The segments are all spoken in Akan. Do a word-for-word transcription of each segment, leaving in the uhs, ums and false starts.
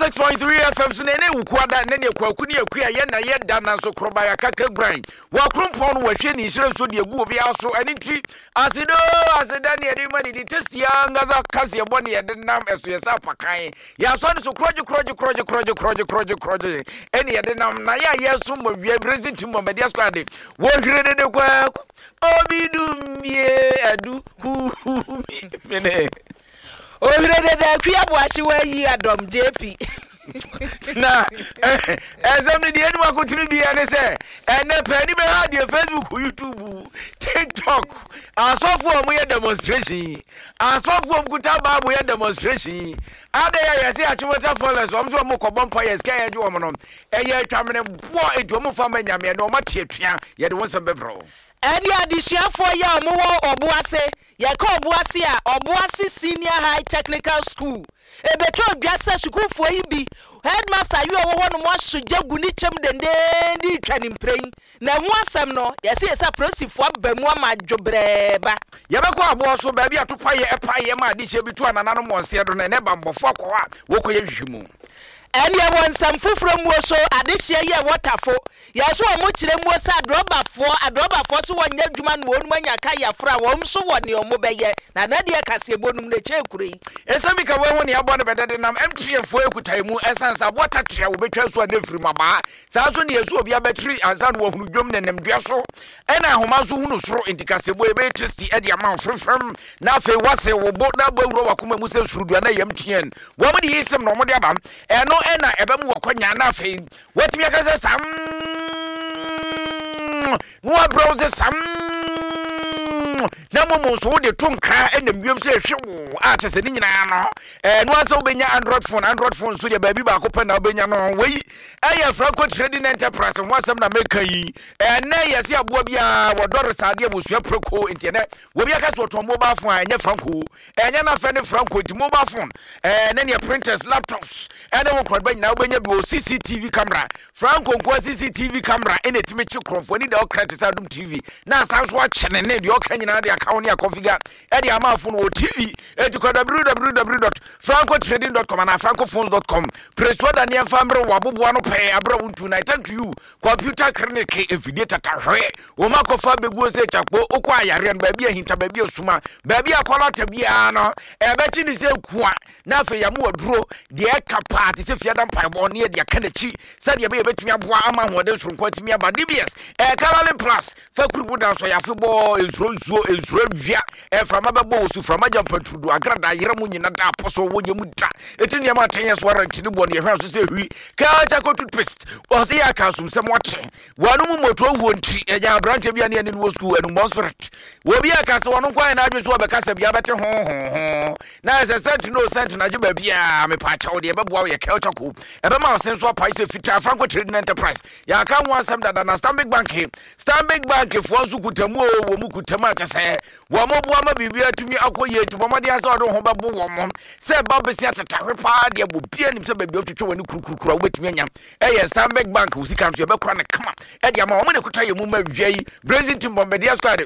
one oh six point three F M so na ɛne wukuada ne ne kwaku ne akua yɛ na yɛda nanso korɔba yɛakaka guran wɔakrompɔn no wɔahwɛ ne nhyira nso de agu obiara so. Ɛne nti asedo aseda ne yɛde ma didi tasty ankasa kaseɛ bɔ ne yɛde nam ɛso yɛ sɛ apakan yɛasɔ ne so korɔgye korɔgye korɔgye korɔgye korɔgye korɔgye korɔgye ɛne yɛde nam na yɛ a yɛso mmɔ wia Brezin tim bɔmbɛdeɛ squad wɔhwere dede kwaku obi dumbie adu kuumi mene. Ohwere dede Akua Aboakye wayi adɔm J P. Na ɛnsɛm no deɛ anim akotene bia ne sɛ ɛnɛ pɛni bɛha deɛ Facebook, YouTube, TikTok asɔfoɔ a wɔyɛ demonstration yi, asɔfoɔ a wɔkuta Bible yɛ demonstration yi ade yɛ yɛsɛ Achimota Forest, wɔn nso wɔn kɔbɔ mpa yɛ sika yɛgye wɔn no ɛyɛ atwamene boɔ, enti wɔn fa ma Nyameɛ na wɔn ate atua. Yɛde wɔn nsɛm bɛbrɛ wo. Ɛne adesuafoɔ yi a wɔwɔ Ɔboase, yɛka Ɔboase a, Ɔboase Senior High Technical School, ebetwa odwa sɛ sukuufoɔ yi bi headmaster yi a ɔwɔ hɔ nom aso gya gu ne kyɛm dendenden twa ne mprɛn na ɛho asɛm no yɛsɛ yɛsɛ apolisifoɔ aba mu ama adwobrɛɛba. Yɛbɛkɔ aboɔ so baabi a topayɛ ɛpayɛ ma adehyɛ bi to anananom wɔn seɛ do no, ɛnɛ bambɔfoɔ akɔ hɔ a wɔkɔyɛ hwehwɛ mu. Ɛne ɛwɔ nsɛm foforɔ muo so, adehyeɛ yɛ wɔtafo yɛso wɔn kyerɛ muo sɛ adrɔbafoɔ adrɔbafoɔ so wɔnyɛ adwuma no wɔn mu anya ka yɛforo a wɔn nso wɔ nea wɔn bɛyɛ na nadeɛ kaseɛbɔ num n'akyire kuro yi. Ɛsɛm bi ka wɔn ho ne abɔ no bɛdɛde nam M T N foɔ ekuta mu ɛsan sɛ aboɔ tatea wɔbɛtwa so a ne firi mu abaa saa so ne yɛsu obi abɛtiri ansa na wɔhunu dwom ne nam dua so ɛna ahoma nso hunu soro. Nti kaseɛbɔ yɛbɛyɛ tasty ɛde ama wo frɛmfrɛm na afei wase wo bo na abɔ awura wakoma mu sɛ surudua na yɛ M T N wɔn de yi sɛm na wɔn de aba ɛno ɛna ɛbɛmu wɔkɔnya na afei wɔatumi aka sɛ sam na wabrɛ wo sɛ sam na mmom nso wode to nkra ɛnam wiem sɛ ɛhwe wo a kyɛ sɛ ne nyinaa no ɛno asɛ wobɛnya Android phone. Android phone nso deɛ baabi baako pɛ na wobɛnya no. Wei ɛyɛ Franco Trading Enterprise ho asɛm na meka yi. Ɛnɛ yɛ sɛ aboa biara wɔdɔre saa adeɛ wɔsua preko, nti ɛnɛ wɔbi aka sɛ wɔtɔn mobile phone a ɛnyɛ Franco, ɛnyɛ n'afɛ ne Franco. Nti mobile phone ɛɛ ne neɛ printers, laptops ɛne wo nkorɔba nyinaa wobɛnya bi wɔ. C C T V camera, Franco nkoa C C T V camera ɛna ɛtumi kye korɔmfoɔ ani da ɔkra te sɛ Adom T V na asan so akyɛ ne ne deɛ ɔka nyinaa de aka wo ne akɔfiga ɛde ama afo no wɔ T V. Ɛti kɔ W W W dot francotrading dot com anaa francophones dot com. Presoa da nneɛmfa mmerɛ wɔ aboboa no pɛɛ aberɛ wo ntu na thank you Computer Clinic mfidie tatahwɛ wɔn akɔfa bɛguo sɛ kyakpo wokɔ ayareɛ no baabi ahinta, baabi asuma, baabi akɔlɔta biara no ɛbɛkye ne sɛ kua na afei yɛmo waduro deɛ ɛka paa te sɛ fiada mpaebɔ ne yɛde aka n'akyi sɛdeɛ ɛbɛyɛ bɛtumi aboa ama ahoɔden soronko atumi aba. D B S ɛkalalin plus fa kurubu da nso yɛafe bɔ nsuro nsuo nsuro awia ɛframa bɛbɔ wɔ so frama gya mpaturudu agrada yerɛ mu nyina da apɔ so wɔnyɛ mu da ɛti nneɛma atɛnyɛ so warranty ne boɔ no yɛhwɛ so sɛ hwi kaa toothpaste ɔsɛ yɛ aka asomsɛm wate wɔno mu mmɔtoɔ wuo nti ɛgya aberanteɛ bi a ne ɛne no wɔ sukuu anummɔ spirit wɔbi aka sɛ wɔno nkwa yɛ n'adwe so wɔbɛka sɛ bia bɛte ho ho ho na ɛsɛ sɛnti no sɛnti no agye baabiaa mepaakyɛw deɛ ɛbɛboa wo yɛ kelcha ko ɛbɛma wo sen so apae sɛ fitaa. Franco Trading Enterprise yɛaka ho asɛm dada na Stanbic Bank, Stanbic Bank foɔ nso kutamu o wɔ mu kutamu a kyɛ sɛ wɔn mo boa ma biribi atumi akɔ yie, nti bɔmmɔden asɛ wɔde wo ho bɛbo wɔn mo sɛ ɛba bɛsi atetahwe paa deɛ bɔ bia nim sɛ baabi a wotwitwa w'ani kurukurukuru a wobɛtumi anya ɛyɛ Stanbic Bank. Wo sika nso yɛbɛkora no kama ɛde ama wɔn ne kuta yɛ mu ma wia yi Brazil team bɔmbɛdeɛ squad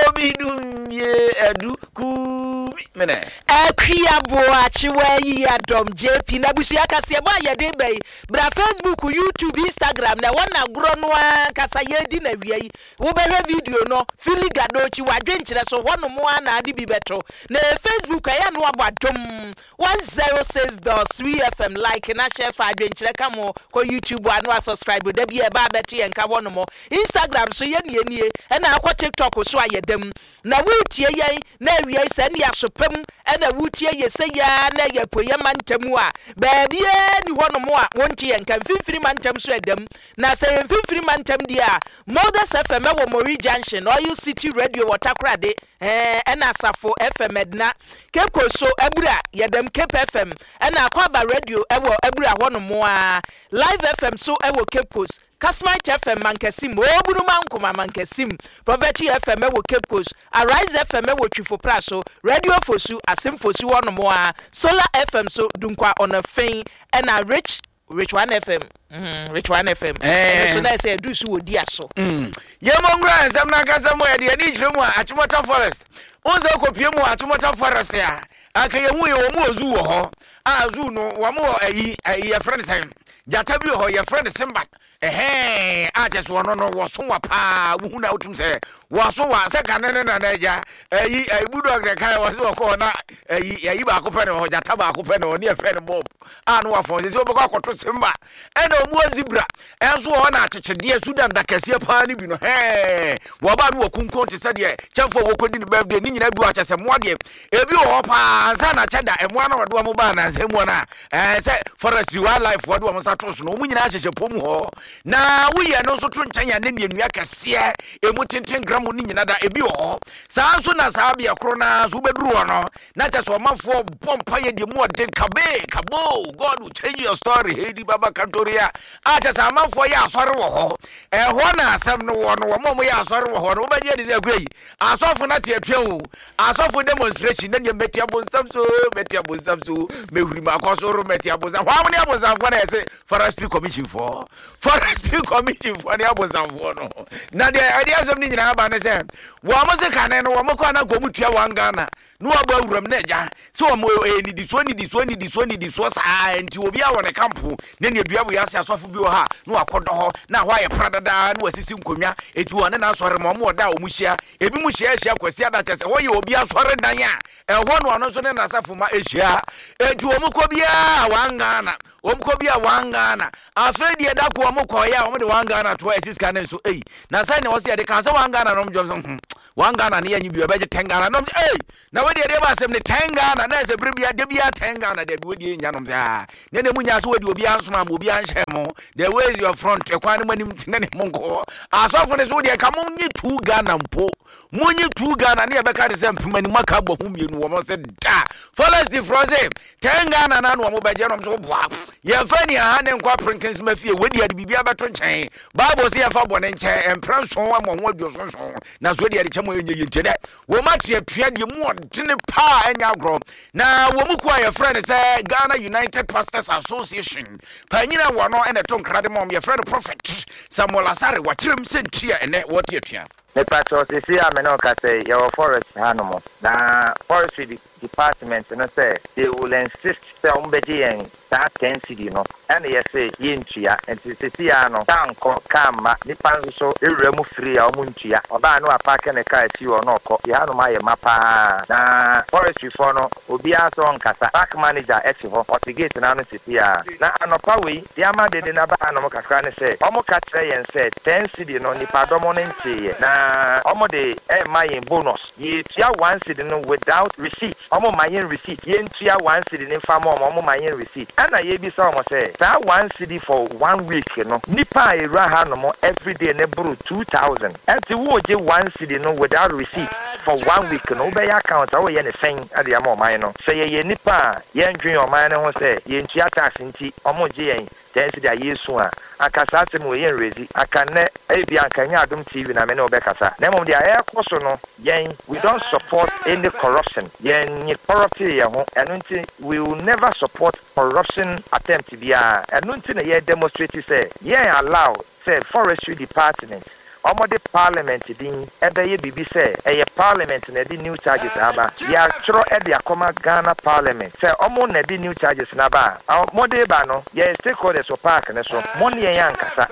obi dumie adu kubi mene. Akua Boakye wayi adɔm J P na abusua kaseɛbɔ a yɛde ba yi bra Facebook, YouTube, Instagram na ɛwɔ n'agorɔ no ankasa yɛdi na wia yi wobɛhwɛ video no fili gadokyi wadwenkyerɛ so hɔnom a na ade bi bɛto na Facebook ɛyɛ no wabɔ Adom one oh six point three F M like na hyɛ fa adwenkyerɛ ka mo. Kɔ YouTube a no a subscribe da bi a ɛba abɛte yɛn ka hɔnom. Instagram so yɛ nie nie ɛna akɔ TikTok so a yɛdam na wotie yɛn na awia yi sɛ ne asopam ɛna wotie yɛ sɛ yɛa na ɛyɛ apueyɛ mantam a baabiaa ni hɔnom a wonte yɛn ka. Mfimfini mantam so ɛdam na sɛ yɛ mfimfini mantam deɛ a Modest F M ɛwɔ Mori Junction, Oil City Radio wɔ Takorade, ɛɛ ɛna Asafo F M Ɛdina, Cape Coast so Abura yɛdam Cape F M ɛna Akɔaba Radio ɛwɔ Abura hɔnom a Live F M so ɛwɔ Cape Coast, Kasmite F M Mankasim, Obunuma Nkoma Mankasim, Prophet F M ɛwɔ Cape Coast, Arise F M ɛwɔ Twifo so, Radio Fosu Asem Fosu hɔnom a Solar F M so Dunkwa Ɔnɔfɛn ɛna Rich Rich One F M, mm, Rich One F M Eh. ɛno so na ɛsɛ ɛduru so wɔ di aso. Yɛmɔ nwura nsɛm no ankasa mu. Yɛde ani kyerɛ mu a Achimota Forest wo sɛ wokɔpie mu Achimota Forest a anka yɛhu yɛ wɔ mu wɔ zoo wɔ hɔ. A zoo no, wɔn wɔ ayi ayi yɛfrɛ no sɛn, gyata bi wɔ hɔ yɛfrɛ no Simba. Ɛhɛn, a kyɛ so ɔno no wɔso wa paa. Wohu na wotum sɛ wɔso wa sɛ kane ne nana agya ayi ayi Budog ne kan wɔ sɛ wɔkɔ na ayi ayi baako pɛ ne hɔ, gyata baako pɛ ne hɔ ne yɛfrɛ no Bob a no wafɔn sɛ sɛ wɔbɛkɔ akɔto Simba. Ɛna ɔmu wɔ zebra ɛnso wɔ hɔ na akyekyedeɛ Sudan da kɛseɛ paa no bi no hɛn wɔba no wɔ kunkun te sɛ deɛ kyɛnfo a wɔkɔdi ne birthday ne nyinaa bi wɔ akyɛ sɛ mmoa deɛ ebi wɔ hɔ paa. Ansa na kyɛ da mmoa no wɔde wɔn baa nansa mu no a ɛɛ sɛ forestry, wildlife wɔde wɔn nsa to so no, wɔn nyinaa hyehyɛ pɔm hɔ. Na woyɛ no nso to nkyɛn a ne nnua kɛseɛ emu tenten gram ne nyina da ebi wɔ hɔ saa nso. Na saa beɛ koro naa so wobɛduru hɔ no na kyɛ sɛ ɔmanfoɔ bɔ mpa yɛ deɛ mu ɔden kabe kabo, "God will change your story," heidi baba kantoria a kyɛ sɛ amanfoɔ yɛ asɔre wɔ hɔ. Ɛhɔ na asɛm no wɔ no. Wɔn a wɔyɛ asɔre wɔ hɔ no, wobɛgye adi sɛ akua yi asɔfo no atuatua o. Asɔfo demonstration na deɛ mɛtia bonsam so, mɛtia bonsam so, mɛhuri makɔ soro, mɛtia bonsam. Hɔ ne abonsamfoɔ na yɛsɛ Forestry Commission foɔ, Forestry Commission foɔ ne abonsamfoɔ no. Na deɛ ɛde asɛm no nyinaa ba ne sɛ wɔn mo se kane no wɔn kɔ ananka wɔn tua one Ghana na wɔabɔ awuram na agya sɛ wɔn ɛyɛ nidisoɔ nidisoɔ nidisoɔ nidisoɔ saa. Nti obi a wɔ ne kampo ne nea dua wɔ ase, asɔfo bi wɔ ha na wakɔdɔ hɔ na hɔ ayɛ pradadaa na wasisi nkonnwa eti wɔn ne n'asɔre ma wɔn wɔ da a wɔn hyia. Ebi mu hyia ahyia Kwasi ada kyɛ sɛ hɔ yɛ obi asɔre dan a ɛhɔ no ɔno nso ne n'asafo ma ahyia. Eti wɔn kɔ biara one Ghana, wɔn kɔ bi a one Ghana. Afei deɛ da ko wɔn kɔ yɛ a wɔn de one Ghana to a ɛsi sika ne nso eyi na sɛ nea wɔsi yɛde kan sɛ one Ghana nom jɔn so hmm one Ghana ne yɛ nyi bi ɔbɛgye ten Ghana nom. Ei, na wɔde yɛde ba asɛm ne ten Ghana na ɛsɛ bere bia de bia ten Ghana de bi wɔde nya nom sɛ aa ne na mu nya sɛ wɔde obi ansoma ma obi anhyɛ mo. The way is your front, ɛkwan no mu anim tene ne mo nkɔ. Asɔfo ne so deɛ ka mo nye two Ghana mpo, mo nye two Ghana ne yɛbɛka de sɛ mpem anim aka abɔ ho mmienu. Wɔn sɛ da forest frɔ sɛ ten Ghana na na wɔn bɛgye nom so boa yɛmfa ni aha ne nkɔ aperenkensema fie. Wɔdi ade biribi abɛto nkyɛn. Bible sɛ yɛmfa bɔ ne nkyɛn mprɛ nson ama ho aduɔsonson na so deɛ de kyɛ mo ɛnyɛ yie. Nti dɛ wɔn atuatua deɛ mu ɔdene paa ɛnyɛ agorɔ. Na wɔn mu kuo a yɛfrɛ no sɛ Ghana United Pastors Association panyin a wɔn no ɛna ɛto nkra de ma wɔn, yɛfrɛ no Prophet Samuel Asare, wakyerɛm sɛ nti a ɛnɛ wɔte atua. Mepakyɛw, sisi a me ne wo kasa yi, yɛwɔ forest hanom na forestry department no sɛ they will insist sɛ wɔn bɛgye yɛn saa ten cedi no, ɛna yɛsɛ yɛntua. Nti sisi a no kaa nkɔ kaa mma, nipa nso so ewura mu firi a wɔn ntua. Ɔbaa no apark ne kaa si hɔ na ɔkɔ yɛ hanom ayɛ ma paa. Na forestry foɔ no, obiara sɛ ɔnkasa. Park manager ɛte hɔ, ɔte gate n'ano sisi a. Na anɔpa wei deɛ ama dede n'aba hanom kakra ne sɛ wɔn ka kyerɛ yɛn sɛ ten cedi no nipadɔm no nteeɛ na wɔn de ɛɛma yɛn bonus. Yɛtua one cedi no without receipt. Wɔn ma yɛn receipt, yɛntua one cedi ne nfa ma wɔn, wɔn ma yɛn receipt. Ɛna yɛbisa wɔn sɛ saa one cedi for one week no, nipa a ewura hanom everyday ne boro two thousand, ɛnti wɔregye one cedi no without receipt for one week no, wobɛyɛ account a wɔyɛ ne sɛn ɛde ama ɔman no sɛ yɛyɛ nipa a yɛndwen ɔman no ho sɛ yɛntua tax nti wɔn gye yɛn ten cedi a yɛsu a anka saa asɛm wɔ yɛn rezi anka nnɛ ebi anka nyɛ Adom T V na me ne wobɛkasa. Na mmom deɛ ɛrekɔ so no, yɛn we don't support any corruption. Yɛn nye corrupt yɛn ho. Ɛno nti we will never support corruption attempt biara. Ɛno nti na yɛ demonstrate sɛ yɛn allow sɛ forestry department ɔmɔde parliament din ɛbɛyɛ biribi sɛ ɛyɛ parliament na ɛde new charges aba. Yɛatwerɛ ɛde akɔma Ghana Parliament sɛ ɔmo na ɛde new charges n'aba a ɔmɔde ba no, yɛyɛ stakeholders wɔ park ne so, mo ne yɛn ankasa.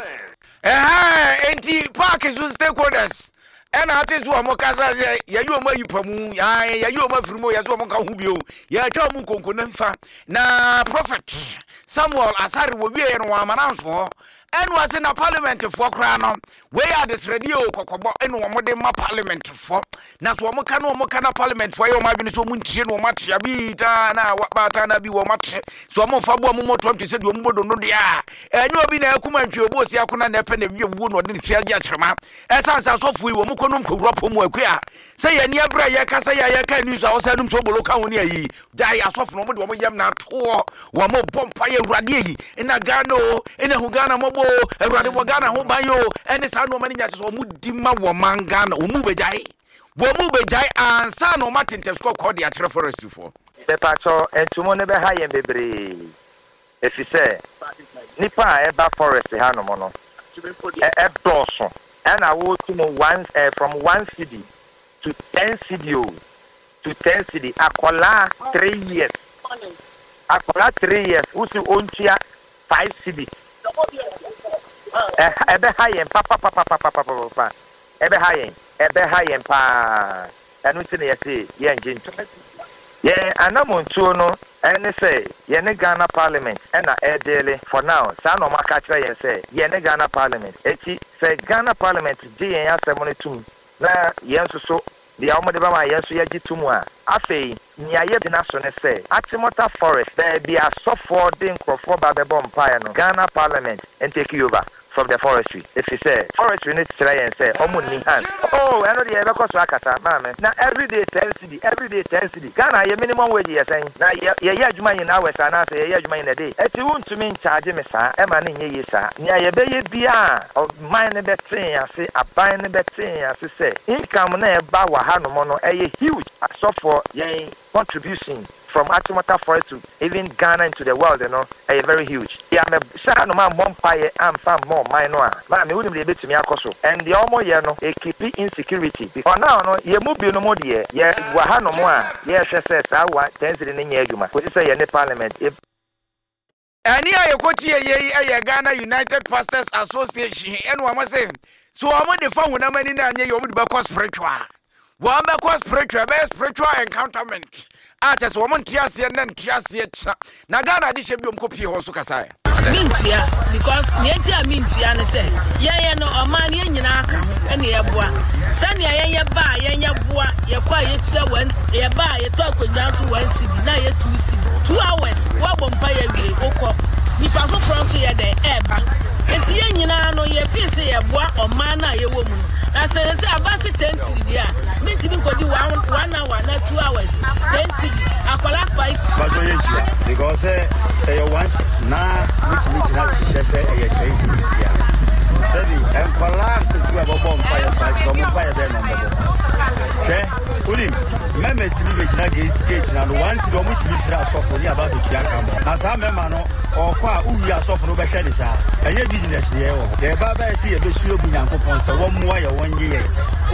Ɛhɛn, enti park so stakeholders ɛna ate so wɔn kasa sɛ yɛyi wɔn ayi pa mu, yɛyi wɔn afiri mu, yɛsɛ wɔn ka ho bio, yɛatwa wɔn nkonko ne nfa. Na Prophet Samuel Asare wɔ wie no wɔn amana nso hɔ ɛna ɔse na parliament foɔ koraa no, wei yɛ adesrɛdeɛ o, kɔkɔbɔ ɛna wɔn de ma parliament foɔ. Na so wɔn ka no, wɔn ka na parliament foɔ yɛ wɔn adwene sɛ wɔn ntie no, wɔn atea bi taa na baata na bi wɔn ate so wɔn fa bo a wɔn mɔtɔ nti sɛ deɛ wɔn bɔ dono deɛ a ɛnyɛ obi na ɛkum antwi obi osi akona na ɛpɛ na ewie wuo na ɔde ne tua gye akyerɛma. Ɛsan sɛ asɔfo yi wɔn kɔ nom kɔwura pɔ mu akua sɛ yɛn ni abere a yɛka sɛ yɛ yɛka news a wɔsɛ num so bolo ka ho ne ayi gyae asɔfo no, wɔn de wɔn yam na atoɔ, wɔn bɔ mpa yɛ Awurade ayi ɛna Ghana o, ɛna hu Ghana mɔbɔ o, Awurade bɔ Ghana ho ban o, ɛne saa nneɛma no nya kyɛ sɛ wɔn di ma wɔn man Ghana. Wɔn mu bɛgyae, wɔn mu bɛgyae ansa na wɔn ate ntɛso kɔkɔɔ de akyerɛ forestryfoɔ. Mepakyɛw, ntumu no bɛha yɛn bebree ɛfiri sɛ nipa a ɛba forest hanom no ɛdɔɔso. Ɛna wotu mu one eh, from one cedi to ten cedi o, to ten cedi. Akɔlaa three years Akwadaa three years wosi ontua five cedis. Ɛbɛha yɛn papapapapapapa, ɛbɛha yɛn, ɛbɛha yɛn paa. Ɛno nti na yɛse yɛngye nto. Yɛn anamontuo no ɛne sɛ yɛne Ghana Parliament ɛna ɛdeal for now. Saa na ɔmo aka kyerɛ yɛn sɛ yɛne Ghana Parliament. Eti sɛ Ghana Parliament gye yɛn asɛm no tum na yɛn nso so deɛ wɔn de bɛma yɛn nso yɛgye tum a, afei nea yɛgyina so ne sɛ Achimota Forest, baabi asɔfoɔ de nkurɔfoɔ ba bɛbɔ mpaeɛ no, Ghana Parliament ntake over from the forestry, efi sɛ forestry no kyerɛ yɛn sɛ ɔmo nni hand. Oh, ɛno deɛ yɛbɛkɔ so akasa, maame. Na everyday ten cedi, everyday ten cedi. Ghana yɛ minimum wage yɛ sɛn? Na yɛ yɛyɛ adwuma in hours anaasɛ yɛyɛ adwuma in a day? Eti wuntumi nkyagye me saa, ɛma ne nyɛ yie saa. Nea yɛbɛyɛ bia ɔman no bɛte yɛn ase, aban no bɛte yɛn ase sɛ income na ɛba wɔ hanom no ɛyɛ huge. Asɔfoɔ yɛn contribution from Achimota Forest to even Ghana into the world no ɛyɛ very huge. Yà mɛ hyɛ hanom a mmɔ mpaeɛ amfa mmɔ ɔman no a, maame, wonim deɛ ebɛtumi akɔ so. And deɛ ɔmo yɛ no ekeep insecurity, because now no yɛ mu binom deɛ yɛ wɔ hanom a yɛrehwɛ sɛ saa wa ten cedi no nyɛ adwuma kòsi sɛ yɛ ne parliament. Ɛne a yɛkɔtie yei ɛyɛ Ghana United Pastors Association. Ɛne wɔn sɛ so wɔn de fa honam ani no anyɛ yɛ, wɔn de bɛkɔ spiritual, wɔn bɛkɔ spiritual, ɛbɛyɛ spiritual encounterment a kyɛ sɛ wɔn nte aseɛ na nte aseɛ kyena na Ghana ade hyɛ bi wɔn kɔ pie hɔ nso kasaeɛ. Mentua, because nea enti a mentua ne sɛ yɛyɛ no ɔman no yɛn nyinaa ka ho ɛne yɛboa sɛnea yɛnyɛ ba a yɛnyɛ boa. Yɛkɔ a yɛtua one, yɛba a yɛtɔ akonnwa nso one cedi na yɛ two cedi, two hours woabɔ mpa yɛ wie wokɔ, nipa foforɔ nso yɛ dɛn ɛɛba. Nti yɛn nyinaa no yɛfii sɛ yɛboa ɔman no a yɛwɔ mu no. Na sɛ sɛ aba se ten cedi deɛ a, mentumi nkɔdi one one hour na two hours ten cedi, akwadaa five. Baso yɛ ntua because sɛ sɛ yɛ once na wotumi gyina hyehyɛ sɛ ɛyɛ ten cedis deɛ a, sɛbi nkɔlaa nketewa bɛbɔ mpa yɛ five cedi, ɔmo mpa yɛ bɛɛ na ɔmbɛbɔ. Hwɛ, wonim members tumi bɛgyina gate gate na no one cedi, ɔmo tumi firi asɔfo ne aba abɛtua ka mɔ. Na saa mɛma no ɔkɔ a wowie asɔfo no wobɛhwɛ ne saa ɛnyɛ business deɛ wɔ hɔ. Yɛba bɛyɛ sɛ yɛbɛsuro gu Nyankopɔn sɛ wɔmmoa yɛ, wɔnyɛ yɛ.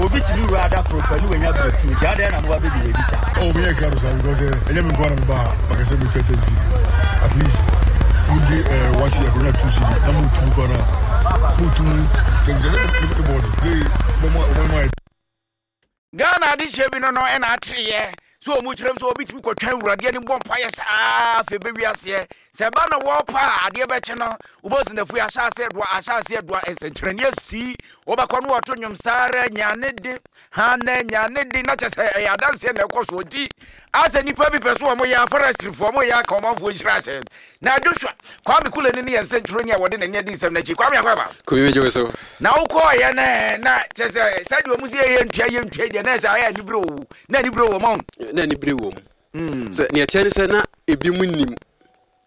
Obi tumi wura ada koro pɛ ne wanya breakthrough, nti adeɛ na moba bɛdi baabi saa. Oh, me yɛ krado saa because ɛnyɛ me nko ara na meba ha bakasɛ metwa ten cedi. At least wogye eh, one cedi akonnwa two cedi na motum kɔ no a motum ten cedi ɛsɛ ne bɔɔde sɛ bɛma ɔman mu ayɛ. Ghana adehyɛ bi no no ɛna atereyɛ so ɔmu kyerɛm sɛ obi tumi kɔtwɛn Awurade anim bɔ mpayɛ saa. Afei bɛwi aseɛ sɛ ɛba no wɔpa a adeɛ bɛkye no, wobɛsi nafu ahyɛ aseɛ doa, ahyɛ aseɛ doa, nsɛnkyerɛnne asi. Wobɛkɔ no wɔto nnwom saa ara nyane de hana nyane de na kyɛ sɛ ɛyɛ adanseɛ na ɛkɔ so. Nti asɛ nnipa bi pɛ so wɔn yɛ aforestryfoɔ, wɔn yɛ aka ɔmanfoɔ nhyira ahyɛ. Na Joshua Kwame Kulani ne yɛn nsɛntwerɛni a wɔde n'ani adi nsɛm n'akyi. Kwame, akɔ aba. Kumi, megye wo so. Na wokɔɔyɛ no na kyɛ sɛ sɛdeɛ ɔmu sɛ yɛyɛ ntua yɛ ntua deɛ na ɛsɛ ayɛ anibere wo na anibere wɔ ma wo. Na anibere wɔ mu sɛ neɛ kyerɛ ne sɛ na ebi mu nim.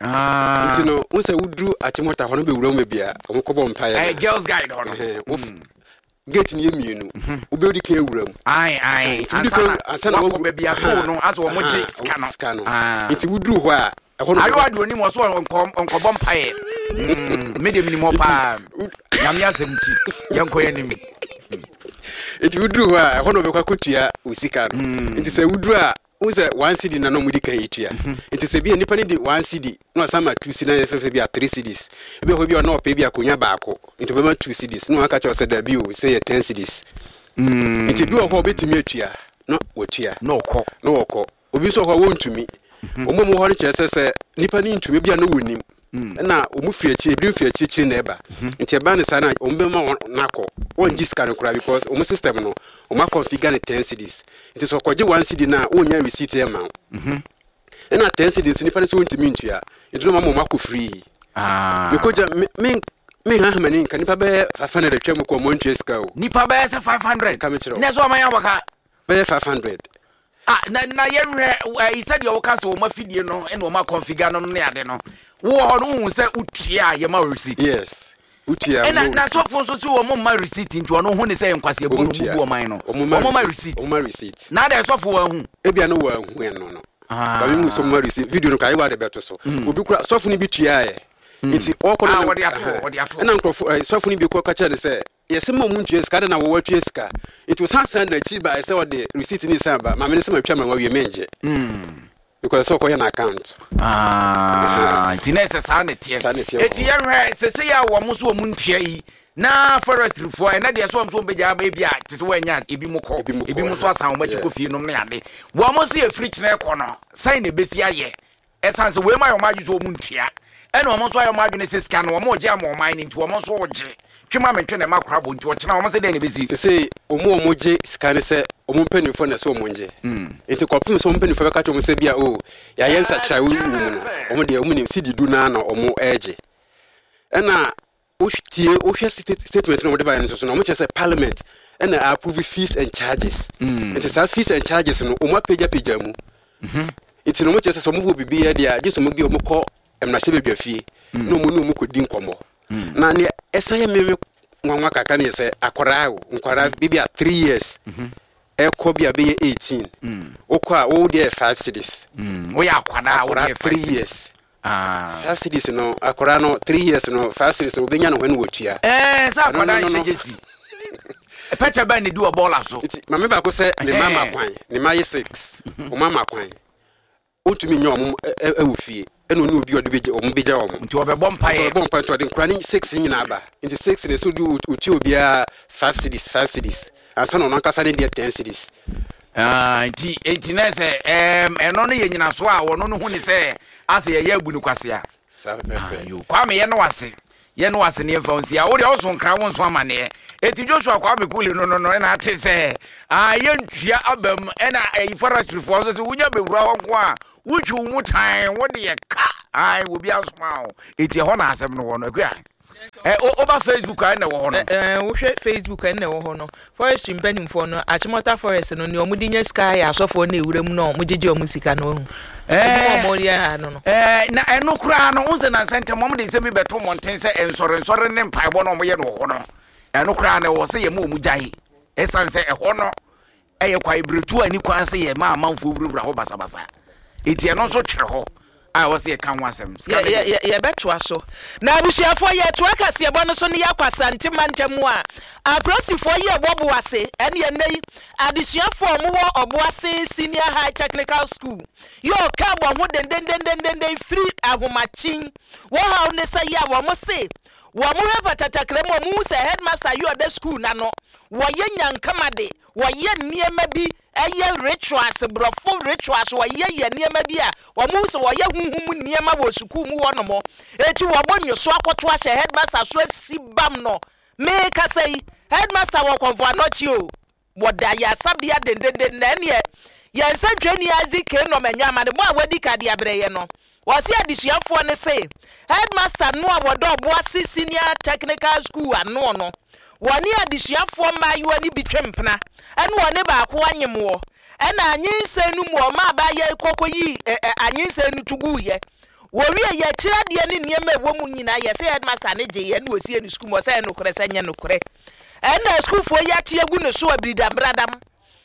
Nti no wo sɛ woduru Achimota hɔ no bɛwura mu baabi a ɔmokɔbɔ mpaeɛ. Ɛyɛ Girls Guide hɔ no. Ɛhɛn, wo- gate no yɛ mmienu, wobɛdi kan awura mu. Ae ae. Nti wodi kan ansa na wakɔ baabi ato no asɛ wɔn gye sika no. Sika no. Ah. Nti woduru hɔ a ɛhɔ no ayewa de onim wɔ so ɔnkɔ ɔnkɔbɔ mpaeɛ. Mm, me deɛ menim hɔ paa, Nyame asɛm nti yɛnkɔ yɛnim. Nti woduru hɔ a ɛhɔ na wɔbɛkɔ akɔtua wo sika no. Nti sɛ woduru a wohu sɛ one cedi na na ɔmudi kan yɛtua. Nti sɛ bia nipa no di one cedi na wasan ma two cedi na yɛ fɛfɛ bi a three cedis, ebi wɔ hɔ bi a ɔna ɔpɛ bi akonnwa baako nti ɔbɛma two cedis na waka kyerɛ wo sɛ dabi o, sɛ yɛ ten cedis. Nti ebi wɔ hɔ a ɔbɛtumi atua na watua na ɔkɔ. Na wɔkɔ. Obi nso wɔ hɔ a wɔntumi. Wɔn a wɔwɔ hɔ no kyerɛ sɛ sɛ nipa no ntumi bi a na wɔnim ɛna wɔn firi akyire, ebi firi akyirikyiri na ɛba. Nti ɛba ne saa na wɔn bɛma wɔn n'akɔ, wɔn gye sika no koraa because wɔn system no wɔn akɔnfigure ne ten cedis. Nti sɛ ɔkɔgye one cedi na wɔnya receipt ɛma wo ɛna ten cedis nipa no sɛ wɔntumi ntua, nti na wɔn ama wɔn akɔ free. Mekɔgya me me me hahamani nka nipa bɛyɛ five hundred atwa mu kɔ wɔn ntua sika o. Nipa bɛyɛ sɛ five hundred? Ka me kyerɛ wo. Na ɛsɛ ɔman yɛ abɔka. Bɛyɛ five hundred. Ah, na na yɛhwɛ ɛyi sɛdeɛ woka sɛ wɔn afidie no ɛna wɔn akɔnfigure no ne ade no wowɔ hɔ no, wohu sɛ wotua a yɛma wo receipt? Yes, wotua. Ɛna na sɔfo nso sɛ wɔn mma receipt, nti ɔno ho ne sɛ nkwasi ebu no mu bu ɔman no, wɔn ma receipt. Wɔn ma receipt. Na adɛ sɔfo wɔn ahu? Ebia no wɔn ahu ɛno no. Ah. Baabi mu sɛ wɔn ma receipt, video no ka ayewa de bɛto so. Obi kura sɔfo no bi tua yɛ nti ɔkɔ no. Ah, wɔde ato hɔ, wɔde ato hɔ. Ɛna nkurɔfo ɛ sɔfo no bi kɔ ka kyerɛ no sɛ yɛsɛ ma ɔmo ntua sika de na wɔwɔ atua sika, nti ɔsan san n'akyi ba sɛ ɔde receipt ne san ba maame no sɛ matwa ma wawie mengye. Because sɛ ɔkɔyɛ no account. Ah, nti na ɛsɛ saa ne teɛ. Saa ne teɛ. Ɛti yɛhwɛ sɛsɛ yɛ a wɔn so wɔn ntua yi na forestryfoɔ ɛnɛ deɛ so wɔn so wɔn bɛgya aba, ebi a te sɛ wɔanya ebi mu kɔ, Ebi mu kɔ, ebi mu so asan wɔn akyi yeah. kɔ fie nom ne ade. Wɔn nso yɛ firi kyerɛ kɔ no sɛn na ebesi ayɛ, ɛsan sɛ wɔn mu ayɛ wɔn adwene sɛ wɔn ntua, ɛna wɔn nso ayɛ wɔn adwene sɛ sika no wɔn regye ama ɔman no, nti wɔn nso regye twema mentwe na ɛma kora bɔ, nti ɔkyena wɔn sɛ dɛn na ebesi? Te sɛ ɔmo a ɔmo gye sika ne sɛ ɔmo mpanimfoɔ na ɛsɛ ɔmo ngye, nti kɔpem sɛ ɔmo mpanimfoɔ bɛka kyerɛ ɔmo sɛ bia o yɛayɛ nsakyera wɔ mu no, ɔmo deɛ ɔmo nim sidi du naa na ɔmo ɛregye. Ɛna wotie, wohwɛ state- statement no a ɔmo de baeɛ no nso so no, ɔmo kyerɛ sɛ Parliament ɛna approve fees and charges, nti saa fees and charges no ɔmo apagyapagya mu, nti na ɔmo kyerɛ sɛ sɛ ɔmo wɔ biribi yɛ deɛ a, gye sɛ ɔmo bi ɔmo kɔ mmarahyɛ badwa fie na ɔmo ne ɔmo kɔdi nkɔmmɔ. Na neɛ ɛsan yɛ meme nwanwa kakra ne yɛ sɛ akwaraa o, nkwaraa bi a three years ɛkɔ bi a bɛyɛ eighteen, wokɔ a wo deɛ yɛ five cedis. Woyɛ akwadaa a Akwaraa wode three years, ah. five cedis no, akwaraa no three years no, five cedis no wobɛnya no hɔ ne wɔtua. Ɛɛ, sɛ akwadaa No, no, no, nhyɛ no. gyesi pɛkyɛ bɛn ne di wɔ bɔɔla so. Nti maame baako sɛ ne ma ma Ɛhɛn. kwan, ne ma yɛ six, ɔma ma kwan, ɔntumi nyɛ ɔmo ɛ- ɛ- ɛwɔ fie, ɛna ɔne obi a ɔde bɛgya ɔmo bɛgya ɔmo. Nti ɔbɛbɔ mpaeɛ. Ɔbɔ mpa, nti ɔde nkura ne six nyinaa ba, nti six ne so de otua obiara five cedis, five cedis ansa na ɔno ankasa ne deɛ ten cedis. Ah, nti nti na sɛ ɛɛm ɛno no yɛ nyinaso a wɔno no hu ne sɛ asɛ yɛyɛ abu no kwasea. Saa pɛpɛpɛ. Yo, Kwame, yɛ no ase, yɛ no ase ne yɛmfa wo nsi a wodeɛ woso nkra wo nso amanneɛ. Ɛti Joshua Kwame Kule no no no ɛna ate sɛ ah, yɛntua aba mu, ɛna ɛyi forestryfoɔ nso sɛ wonya bɛwura hɔ nko a wotwi wo mu tan wode yɛ ka ai obi asoma wo. Ɛti ɛhɔ na asɛm no wɔ no. Akua ɛ wo- woba Facebook a, ɛna ɛwɔ hɔ no. Ɛɛ, wohwɛ Facebook, ɛna ɛwɔ hɔ no. Forestry mpanimfoɔ no, Achimota Forest no, nea ɔmo de nya sika yɛ asɔfoɔ no ewura mu na ɔmo gyegye ɔmo sika no ohu Ɛɛ. ɛdwuma ɔmo yɛ ha no no Ɛɛ, na ɛno koraa no wo sɛ nansa ntɛm ɔmo de nsɛm bi bɛto mmɔnten sɛ nsɔrensɔre ne mpaebɔ no ɔmoyɛ no wɔ hɔ no, ɛno koraa no ɛwɔ sɛ yɛma ɔmu gyae, ɛsiane sɛ ɛhɔ no ɛyɛ kwaebiretu a ani kwan sɛ yɛma amanfoɔ wurawura hɔ basabasa, enti ɛno nso twerɛ hɔ a ɛwɔ sɛ yɛka ho asɛm. Sika Yɛ- no yɛ- yɛ- yɛbɛtoa so. Na abusuafoɔ, yɛtoa kaseɛbɔ no so ne yɛakɔ Asante mantam mu a apolisifoɔ yi ɛwɔ Boase ɛne ɛnɛ yi adesuafoɔ a ɔmowɔ Ɔboase Senior High Technical School yɛ ɔka wɔn ho dendendendenden firi ahomakyen. Wɔhaw ne sɛ yɛ a wɔn se wɔn hwɛ patatakra mu, wɔn hu sɛ headmaster yi ɔda school n'ano wɔyɛ nyankama de wɔyɛ nneɛma bi, ɛyɛ rituals, borɔfo rituals, wɔyɛ yɛ nneɛma bi a wɔn hu sɛ wɔyɛ huhum nneɛma wɔ sukuu mu hɔnom. Eti wɔbɔ nyoso akɔto ahyɛ headmaster so asi bam no. Mee kasa yi, headmaster wɔ Kɔnfɔ Anɔkye o, wɔda yasabea dendenden. Na ɛneɛ yɛn nsɛntwerɛni Isaac K Nɔmɛnwa amanebɔ a wadi kadeɛ abrɛyɛ no, wɔsi adesuafoɔ ne se headmaster no a wɔdɔ Ɔboase Senior Technical School ano no, wɔne adesuafoɔ mmaayewa no bi twe mpena, ɛne wɔne baako anyem wɔ, ɛna anyinsɛn no mu ɔma abaayɛ kɔkɔ yi ɛ ɛ anyinsɛn no to guiɛ. Wɔwie yɛ akyerɛ adeɛ ne nneɛma a ɛwɔ mu nyinaa, yɛsɛ headmaster ne gye yɛ ne wɔsie ne sukuu mu. Ɔsɛ ɛyɛ nokorɛ sɛ nyɛ nokorɛ, ɛna sukuufoɔ yi ate agu ne so abiridambradam,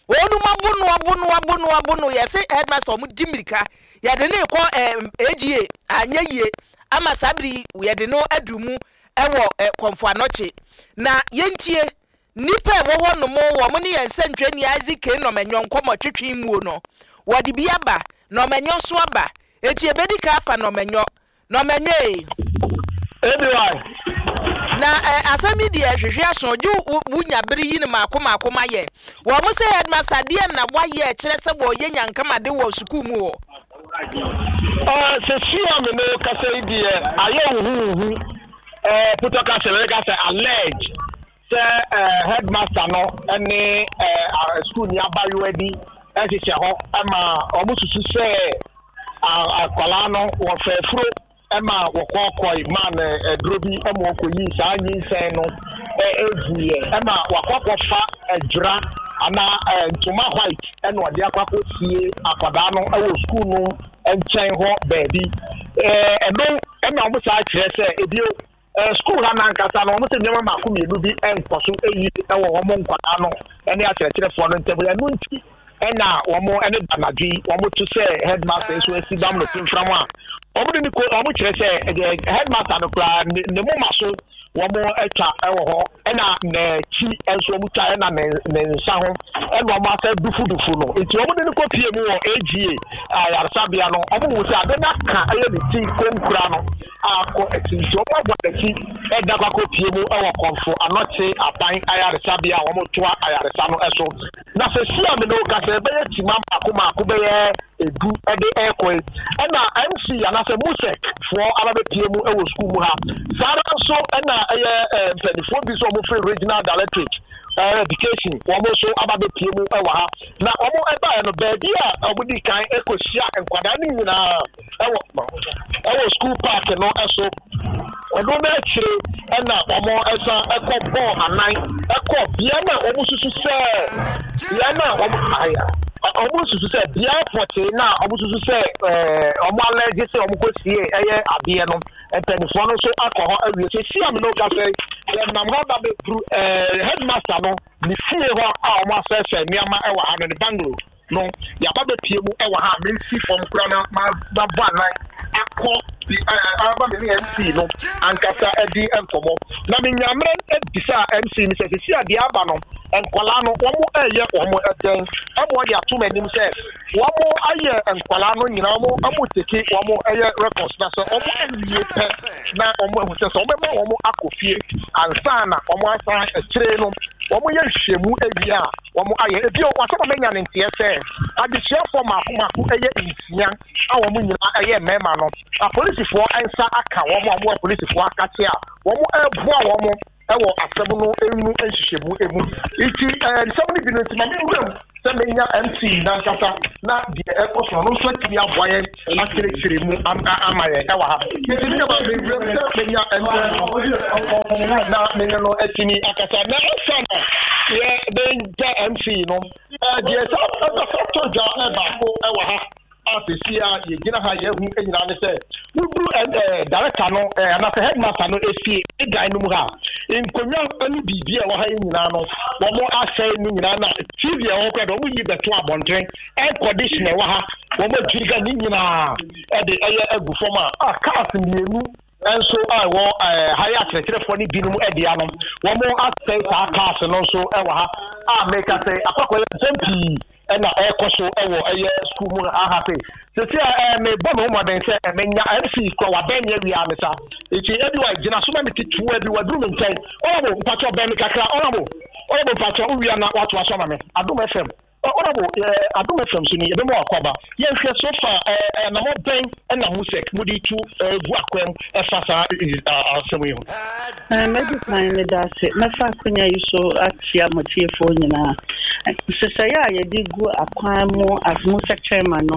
wɔnum abo no, abo no, abo no, abo no. Yɛsɛ headmaster ɔmo di mirika yɛde ne kɔ ɛɛ A G A, anyɛ yie ama saa bere yi yɛde no aduru mu ɛwɔ ɛ Kɔnfo Anɔkye. Na yɛntie nipa a ɛwɔ hɔ nom, wɔn ne yɛn nsɛntwerɛni Isaac K Nɔmɛnyɔ nkɔmɔ twetwe muo no, wɔde bi aba Nɔmɛnyɔ so aba. Eti ebedi ka afa Nɔmɛnyɔ, Nɔmɛnyɔ ee. Ebi. Na ɛ asɛm yi deɛ hwehwɛ aso gye wo wonya bere yi ne maako maako ma yɛ wɔn mo sɛ headmaster deɛ na wayɛ kyerɛ sɛ wɔyɛ nyankamade wɔ sukuu mu hɔ. Ɛɛ, sɛ sua mi no kasa yi deɛ ayɛ huhuhu, ɛɛ putɔ kasa wɛrɛ kasa allege sɛ ɛɛ headmaster no ɛne ɛɛ sukuu ni abayewa bi ɛhyehyɛ hɔ, ɛma wɔn susu sɛ akwalaa no wɔfɛ furo, ɛma wɔkɔɔkɔe maa no ɛduro bi ɛma wɔkɔyi saa nyinsɛn no ɛɛguiɛ, ɛma wakɔkɔfa ɛdwira anaa ɛɛ ntoma white ɛna ɔde akɔ akɔsie akwadaa no ɛwɔ sukuu no nkyɛn hɔ baabi. ɛɛ ɛno ɛna wɔn saa kyerɛ sɛ ebio ɛɛ sukuu ha nankasa no, wɔn sɛ nneɛma mako mmienu bi ɛnkɔ so ɛyi ɛwɔ wɔn nkwadaa no ɛne akyerɛkyerɛfoɔ no ntam. Ɛno nti ɛna wɔn ɛne danadwe yi wɔn to sɛ headmaster nso asi dam no timfram a wɔn de ne ko. Wɔn kyerɛ sɛ ɛdeɛ headmaster no koraa ne ne moma so. Wɔn atwa wɔ hɔ, ɛna n'akyi nso wɔn twa, ɛna ne ne nsa ho ɛna wɔn asɛ dufudufu no. Nti wɔn de no kɔ pie mu wɔ A G A ayaresabea no, wɔn hu sɛ ade no aka ɛyɛ ne ti konkura no akɔ akyi, nti wɔn abɔ n'akyi ɛda kɔ akɔ pie mu ɛwɔ Kɔmfo Anɔkye aban ayaresabea a wɔn toa ayaresa no ɛso. Na sɛ si a mene ka sɛ ɛbɛyɛ kyima mako mako bɛyɛ edu ɛde ɛkɔ yi, ɛna M C anaasɛ MUSEC foɔ aba bɛpie mu ɛwɔ sukuu mu ha. Saa ara nso ɛna ɛyɛ ɛɛ mpanimfoɔ bi nso a wɔfiri Regional Directorate ɛɛ Education, wɔn nso aba bɛpie mu ɛwɔ ha. Na wɔn ɛbaeɛ no, baabi a wɔn di kan ɛkɔhyia nkwadaa no nyinaa ɛwɔ ɛwɔ school park no ɛso. Ɔno n'akyire ɛna wɔn ɛsan ɛkɔ bɔɔl anan ɛkɔ bea no a wɔn susu sɛ bea no a wɔn aya wɔn susu sɛ bea pɔtee na wɔn susu sɛ ɛɛ wɔn alɛgye sɛ wɔn kɔ sie ɛyɛ adeɛ no. Mpanimfoɔ no nso akɔ hɔ awie. Sɛ si a mi n'o ka sɛ yɛnam hɔ ba bɛduru ɛɛ headmaster no ne fie hɔ a wɔn asɛesɛe nneɛma ɛwɔ ha no, ne bungalow no, yaba bɛpie mu ɛwɔ ha a mesi fam kura na ma ma bɔ anan akɔ ɛɛ aba me ne M C no ankasa ɛdi nkɔmɔ. Na me nyamrɛ ebisa M C no sɛ sisi adeɛ aba no, nkɔlaa no wɔn ɛyɛ wɔn ɛdɛn ɛmo ɔde ato m'anim sɛ wɔn ayɛ nkɔlaa no nyinaa, wɔn wɔn take wɔn ɛyɛ records, na sɛ wɔn awie pɛ na wɔn ehu sɛ sɛ wɔn bɛma wɔn akɔ fie ansa na wɔn asan akyire no wɔn yɛ nhwehwɛmu awie a wɔn ayɛ ebi o. Wasɛm a menya ne nteɛ sɛ adesuafoɔ mako mako ɛyɛ nsia a wɔn nyinaa ɛyɛ mmarima no, apolisifoɔ nsa aka wɔn a wɔn wɔ apolisifoɔ akakye a wɔn ɛreboa wɔn ɛwɔ asɛm no emu nhyehyɛmu emu. Nti ɛɛ nsɛm no bi no nti ma mi nwura mu sɛ menya M C nankasa na deɛ ɛkɔ so no nso atumi aboa yɛn akyerɛkyerɛ mu ama yɛn ɛwɔ ha. Nti mi nyama mi nwura mu sɛ menya M C no na mene no atumi akasa. Na ɛsa na yɛ bɛgya M C no, ɛɛ deɛ sɛ ɛbɛsɛ tɔ dwa ɛbaako ɛwɔ ha a sisi a yɛgyina ha yɛhu nyinaa ne sɛ woduru ɛɛ director no ɛɛ anaasɛ headmaster no efie dan no mu ha, nkonnwa ne biribi a ɛwɔ ha yi nyinaa no, wɔn asɛe no nyinaa, na T V a ɛwɔ hɔ koraa de wɔn yi bɛto abɔnten, air condition ɛwɔ ha wɔn adwiri ga ne nyinaa ɛde ɛyɛ agu fam a a cars mmienu nso a ɛwɔ ɛɛ ha yɛ akyerɛkyerɛfoɔ ne binom ɛdea no, wɔn asɛe saa cars no nso ɛwɔ ha a meka sɛ akɔkɔ yɛ nsɛm pii ɛna ɛkɔ so ɛwɔ ɛyɛ sukuu mu aha se sisi a ɛɛ mebɔ me ho mmɔden sɛ ɛmenya M C kura wabɛn mi awia me sa eti ebi wa gyina so ma me ketewa bi waduru me nkyɛn. Ɔnabo mpatsɔ, bɛn mi kakra. Ɔnabo, ɔnabo mpatsɔ, wia na wato aso ama me. Adom F M, ɔnabo ɛɛ Adom F M so ni ebe mu akɔba. Yɛnhwɛ, so far ɛɛ ɛnamɔ bɛn ɛna MUSEC mo de tu ɛɛ gu akwan mu ɛfa saa asɛm yi ho? Mɛdi kan meda ase. Mɛfa akonnwa yi so akyia mo tiefoɔ nyinaa. Nhyehyɛeɛ a yɛde gu akwan mu as MUSEC chairman no,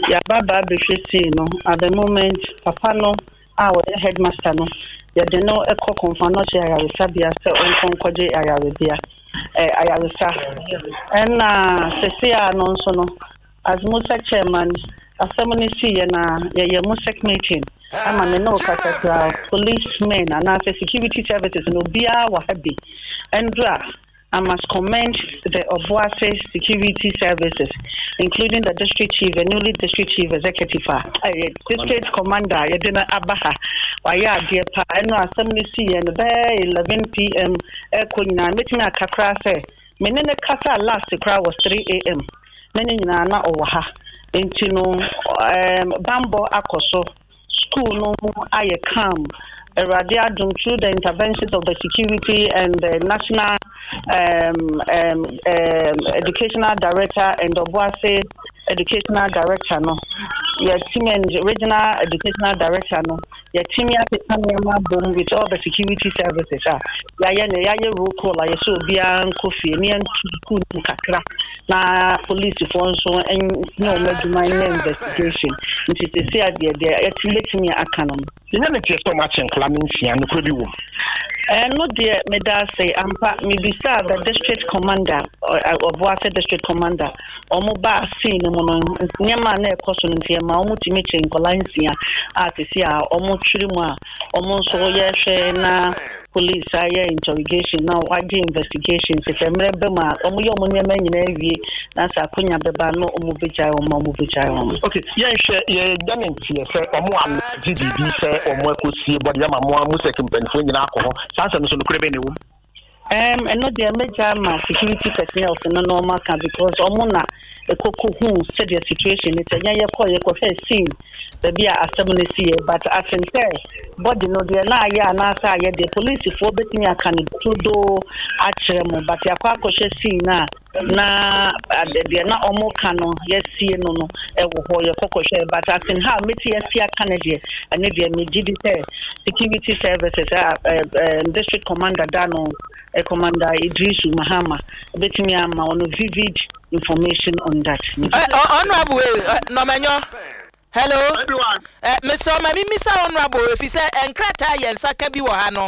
yɛaba ba abɛhwɛ scene no. At the moment, papa no a wɔyɛ headmaster no, yɛde no kɔ Kɔmfo Anɔkye ayaresabea sɛ ɔnkɔ nkɔgye ayarebea eh, ayaresa. Ɛna sese a no nso no, as MUSEC chairman, asɛm no siiɛ na yɛyɛ MUSEC meeting ama me ne wo kasa kura policemen anaasɛ security services no obiara wɔ ha bi. Ɛndura, I must commend the Obuasi Security Services, including the district chief, the newly district chief executive, uh, district commander, yɛde no aba ha. Wayɛ adeɛ pa. Ɛno asɛm no siiɛ no bɛyɛ eleven p M ɛkɔ nyinaa, mɛtumi aka koraa sɛ me ne ne kasa last koraa wɔ three a M ne ne nyinaa na ɔwɔ ha. Nti no um, bambɔ akɔ so, school no mu ayɛ calm. Awurade adom, through the interventions of the security and the national um, um, um, educational director and Obuasi educational director no, yɛtumi and regional educational director no, yɛtumi akeka nneɛma abom with all the security services a yɛayɛ no, yɛayɛ roll call a yɛsɛ obiara nkɔ fie ne yɛnto school no mu kakra na polisifoɔ nso nyɛ wɔn adwuma, nyɛ investigation. Nti sisi adeɛ deɛ yɛtumi bɛtumi aka no no. Yɛnyɛ ne teɛ sɛ ɔmo akyɛ nkɔla ne nsia, nokorɛ bi wɔ mu? Ɛno deɛ meda ase ampa. Mebisaa the district commander, Ɔboase district commander, ɔmo baa scene no mu. no nneɛma a na ɛkɔ so no nti ɛma wɔn tumi kyerɛ nkɔla nsia a sisi a wɔn twere mu a wɔn nso yɛhwɛ na police ayɛ interrogation na wagye investigation sɛ mmerɛ bɛ mu a wɔn yɛ wɔn nneɛma nyinaa wie na sɛ akonya bɛba na wɔn bɛgyae wɔn a wɔn bɛgyae wɔn. Okay, yɛnhwɛ yɛda ne nteɛ sɛ ɔmo alagye biribi sɛ ɔmo akɔsie bɔde ama mo a mo sɛ mpanimfoɔ nyinaa akɔ hɔ. Saa nsɛm no so nokorɛ bɛn na ɛwɔ mu? Um, ɛno deɛ mɛgya ma security personnel no na ɔmo aka because ɔmo na ɛkɔkɔ hu sɛdeɛ situation no sɛ nyɛ yɛkɔ yɛkɔhwɛ scene baabi a asɛm no si yɛ, but asen sɛ body no deɛ na ayɛ anaasɛ ayɛ deɛ, polisifoɔ bɛtumi aka no dodo akyerɛ mo, but yɛakɔ akɔhwɛ scene no a na ade- deɛ na ɔmo ka no yɛsie no no ɛwɔ hɔ, yɛkɔkɔhwɛ, but asen ha mɛti yɛsi aka no deɛ, ɛno deɛ megye di sɛ security services a ɛ ɛ district commander da no, ɛ Commander Idrisu Mahama bɛtumi ama ɔno vivid information on that. Honorable Nɔmɛnyɔ, hello. uh, Mister Ɔma mi misa honorable efi sɛ nkrataa yɛn nsa ka bi wɔ ha no,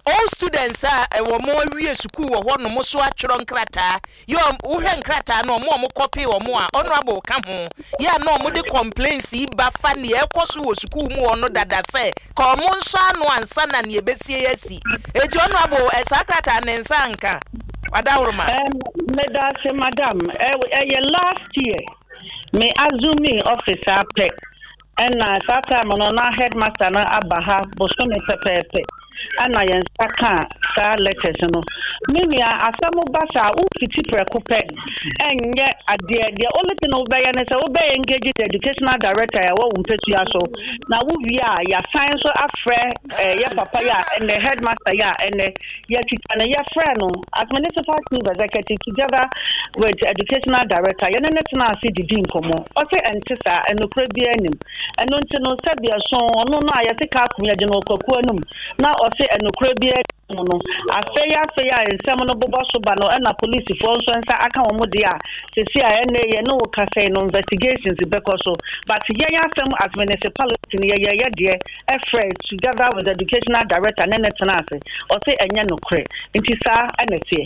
all students a ɛwɔ mo awie sukuu wɔ hɔ nom so atwerɛ nkrataa yɛ, wohwɛ nkrataa no, ɔmo a ɔmo kɔpe ɔmo a honorable ka ho yɛ a na ɔmo de complaints yi ba fa nea ɛkɔ so wɔ sukuu mu hɔ no dada sɛ ka ɔmo nso ano ansa na nea ebesie asi. Eti honorable, ɛsaa krataa ne nsa nka wadahoroma? Um, meda ase, madam. Ɛyɛ last year me assume office apɛ ɛna saa time no na headmaster no aba ha bosome pɛpɛɛpɛ ɛna yɛn nsa ka saa letters no. Me nua, asɛm ba saa wofiti prɛko pɛ ɛnyɛ adeɛ. Deɛ only thing wobɛyɛ ne sɛ wobɛyɛ engage the educational director a ɛwɔ wo mpɛsua so na wowie a yɛasan nso afrɛ ɛɛ yɛ papa yi a ɛnɛ headmaster yi a ɛnɛ yɛtwitwa no, yɛfrɛ no as municipal chief executive together with educational director, yɛne ne tena ase didi nkɔmmɔ. Ɔsɛ ɛnte saa, ɛnokorɛ biara anim. Ɛno nti no sɛdeɛ so ɔno no a yɛte kaa kum yɛde no ɔkwakuo anim na ɔsɛ ɛnokorɛ biara mu no, afei afei a nsɛm no bobɔ so ba no ɛna polisifoɔ nso nsa aka wɔn deɛ a sisi a ɛnɛ yɛ ne wo kasa yi no investigations bɛkɔ so, but yɛn asɛm as municipality no yɛyɛ yɛ deɛ ɛfrɛ together with the educational director ne ne tena ase, ɔsɛ ɛnyɛ nokorɛ, nti saa ɛna ɛteɛ.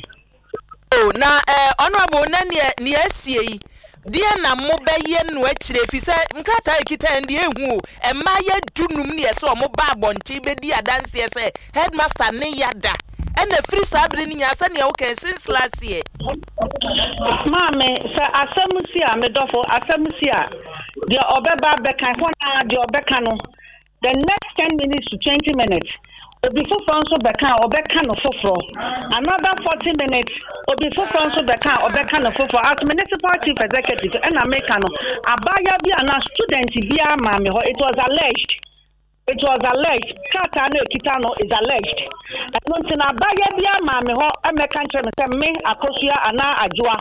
O na eh, honorable, na neɛ neɛ asie yi deɛ na mobɛyɛ no akyire fi sɛ nkrataa ekita yɛn deɛ ehu o, mmaa yɛ dunum ne yɛ sɛ ɔmo ba abɔnten bɛdi adanseɛ sɛ headmaster ne yada ɛna firi saa bere no nyinaa sɛnea woka since last year. Maame, sɛ asɛm si a, medɔfo, asɛm si a, deɛ ɔbɛba bɛka hɔ na deɛ ɔbɛka no, the next ten minutes to twenty minutes obi foforɔ nso bɛka a ɔbɛka no foforɔ, another forty minutes obi foforɔ nso bɛka a ɔbɛka no foforɔ. As municipal chief executive ɛna meka no, abaayewa bi anaa student biara maame hɔ, it was alleged, it was alleged, krataa no ekita no is alleged. Ɛno nti na abaayewa bi ama me hɔ ɛmɛka nkyerɛ me sɛ me Akosua anaa Adwoa,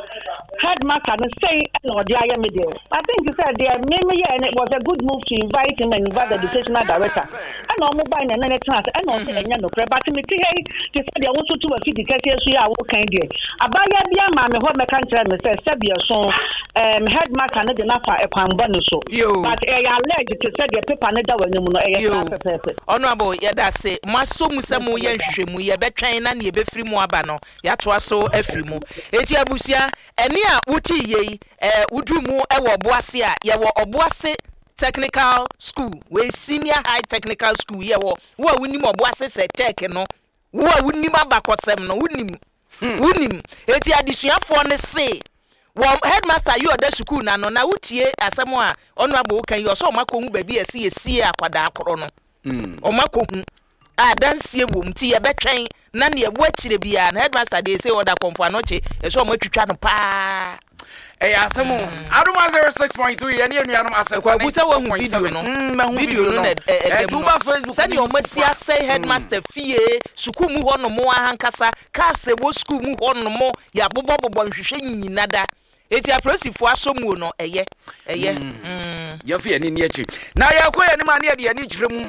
headmaster no sɛn ɛna ɔde ayɛ me deɛ, I think sɛ deɛ me me yɛ no was a good move to invite him and invite the educational director ɛna ɔmo ba na ɛne ne tena ase ɛna ɔsɛ ɛnyɛ nokorɛ, but me ti ha yi te sɛ deɛ wɔn nso tu afidi kɛseɛ so yi a wɔkan deɛ, abaayewa bi ama me hɔ mɛka nkyerɛ me sɛ sɛbi ɛso ɛɛm headmaster no de n'afa ɛkwan bɔ ne so, but ɛyɛ alleged te sɛ deɛ paper no da wɔ anim no, ɛyɛ saa pɛpɛɛpɛ. Honorable, yɛda ase. Mo asɔ mu sɛ moyɛ nhwehwɛmu, yɛbɛtwɛn na neɛ ɛbɛfiri mu aba no yɛatoa so afiri mu. Enti abusua, ɛne a wotii yei ɛɛ woduru mu ɛwɔ Ɔboase a yɛwɔ Ɔboase Technical School, wei Senior High Technical School yɛwɔ. Wo a wonim Ɔboase sɛ tech no, wo a wonim abakɔsɛm no, wonim wonim. Eti adesuafoɔ no se wɔn headmaster yi ɔda sukuu n'ano na wotie asɛm a honorable woka yi, ɔsɛ ɔmo akɔhu baabi a ɛsi yɛsie akwadaa korɔ no, ɔmo akɔhu a adansie wɔ mu, nti yɛbɛtwɛn na nea ɛwɔ akyire biara na headmaster deɛ ɛsɛ ɔda Kɔmfo Anɔkye ɛsɛ ɔmo atwitwa no paa. Ɛyɛ asɛm o. Adom zero six point three, yɛne anuanom asɛmpa. Kwaku, sɛ wahu video no? Mm, mahu. Video no na ɛ- ɛ- ɛda Ɛnti mu no woba Facebook sɛdeɛ ne ɔmo asi asɛe headmaster fie, sukuu mu hɔ nom ahankasa, cars ɛwɔ sukuu mu hɔ nom yɛabobɔbobɔ nhwehwɛ nyina da. Eti apolisifoɔ asɔ muo no, ɛyɛ ɛyɛ Mm. Yɛmfa yɛne ni akyi na yɛkɔ yɛnim a ne yɛde yɛne kyerɛ mu.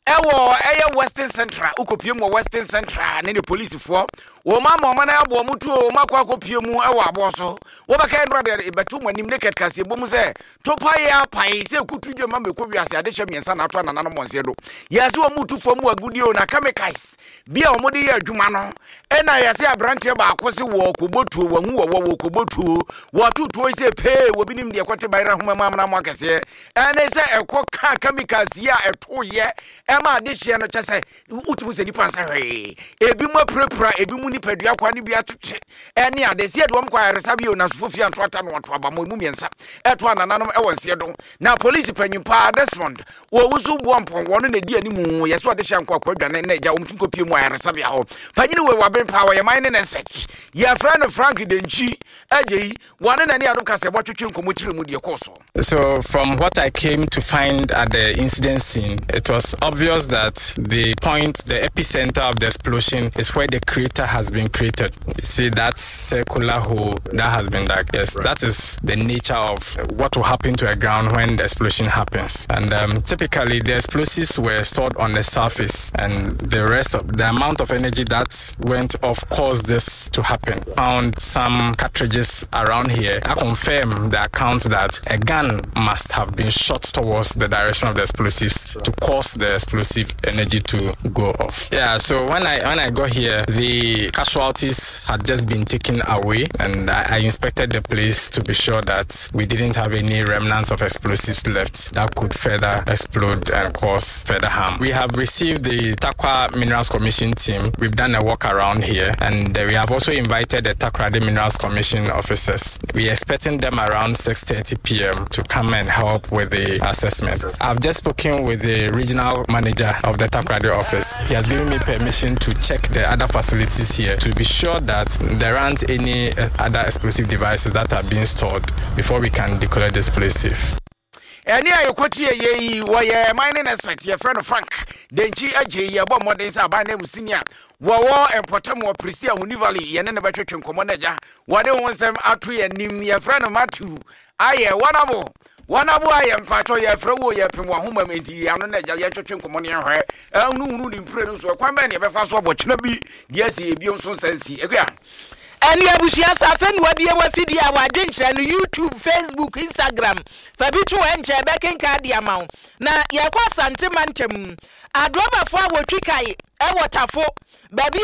Ɛwɔ ɛyɛ Western Central, wokɔpie mu wɔ Western Central ne ne polisifoɔ wɔn ama ɔma no aboɔ mu tuo wɔn akɔ akɔpie mu ɛwɔ aboɔ so. Wɔbɛka nnora de bɛto mu anim naked kaseɛ bɔ mu sɛ topa yɛ apae sɛ kutu dwama mɛkɔ wiase adehyɛ mmiɛnsa na ato anananom wɔn do. Yɛsɛ wɔn mu tu fam wɔ agudie o, na chemicals bi a wɔde yɛ adwuma no, ɛna yɛsɛ aberanteɛ baako se wɔ kɔbɔ tuo, wɔn ho wɔwɔ wɔ kɔbɔ tuo, wɔto tuo yi sɛ pee wɔbi nim deɛ kɔte bayerɛ ahoma mu amena mu akɛseɛ, ɛne sɛ ɛkɔ ka chemicals yi a ɛto yɛ ɛma adehyeɛ no kyɛ sɛ wotumi sɛ nipa nsa hwee, ebi mu apirapira, ebi mu nipadua kwa ne bi atwetwe ɛne ade sɛ yɛde wɔn kɔ ayaresabea o. Nasofo fie anto ata no ato aba mo emu mmiɛnsa ɛto anananom ɛwɔ nseɛ do, na polisi panyin paa Desmond wɔwu so boɔ mpɔn wɔn na edi anim. Yɛsɛ ɔde hyɛ nkɔ akɔ adwane na agya wɔn tumi kɔ pie mu ayaresabea hɔ. Panyin wei waben paa, wɔyɛ mining expert, yɛfrɛ no Frank Denkyi agye yi, wɔne n'ani adom kasa ɛbɔ twetwe nkɔmmɔ kyerɛ mu deɛ kɔɔ so. So, from what I came to find at the incident scene, it was obvious that the point, the epicenter of the explosion, is where the crater has been created. You see that circular hole that has been dug. Yes, right. That is the nature of what will happen to a ground when the explosion happens. And um, typically, the explosives were stored on the surface, and the rest of the amount of energy that went off caused this to happen. Found some cartridges around here. I confirm the account that a gun must have been shot towards the direction of the explosives to cause the explosive energy to go off. Yeah, so when I when I got here, the casualties had just been taken away, and I, I inspected the place to be sure that we didn't have any remnants of explosives left that could further explode and cause further harm. We have received the Tarkwa Minerals Commission team. We've done a walk around here, and we have also invited the Takoradi Minerals Commission officers. We are expecting them around six thirty p m to come and help with the assessment. I've just spoken with the regional manager of the Takoradi office. He has given me permission to check the other facilities here to be sure that there aren't any uh, other explosive devices that are being stored before we can declare this place safe. Ɛne a yɛkɔtie yɛ yi, wɔyɛ mining expert, yɛfrɛ no Frank Denkyi agye yi. Yɛbɔ mmɔden sɛ aban no mu sini a wɔwɔ mpɔtam wɔ Prisia Huni Valley, yɛne ne bɛtwetwe nkɔmmɔ no agya wɔde ho nsɛm ato yɛn anim. Yɛfrɛ no Matthew ayɛ wɔnabo wɔnabo ayɛ mpatwɔ, yɛfrɛ wo, yɛpem wahoma mu enti yɛano no agya yɛntwetwe nkɔmmɔ no, yɛhwɛ ɛhunuhunu ne mpire no so, ɛkwan bɛn ne yɛbɛfa so abɔkyena bi deɛ asi ebio nso nsa nsi akua. Ɛne abusua sa afei na wabie wafidie a wadwenkyerɛ no YouTube, Facebook, Instagram, fa bi to hɔ nkyɛn bɛkenka de ama wo. Na yɛkɔ Asante mantam, adrɔbafoɔ a wɔtwi kae ɛwɔ Tafo baabi.